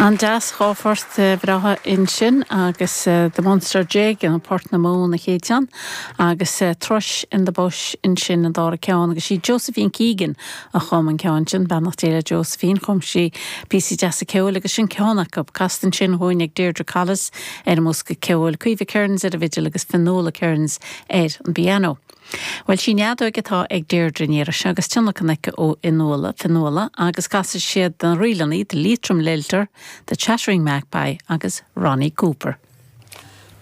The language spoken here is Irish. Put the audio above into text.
An-deas, 2 phort bhreátha ansin agus The Munster Jig nó Port na Mumhan an chéad cheann agus Thrush in the Bush ansin an dara ceann agus sí Josephine Keegan a chum an ceann sin, beannacht Dé le Josephine, chum sí píosaí deasa ceoil agus sin ceann acu, casta ansin dhúinn ag Deirdre Collis ar an mbosca ceoil, Caoimhe Kearns ar an bhfidil agus Fionnuala Kearns ar an bpianó. Bhuel, sí an fheadóig atá ag Deirdre an iarraidh seo agus tionlacan aici ó Fhionnuala, Fionnuala, agus casfaidh siad na ríleanna, The Leitrim Lilter, The Chattering Magpie agus Ronnie Cooper.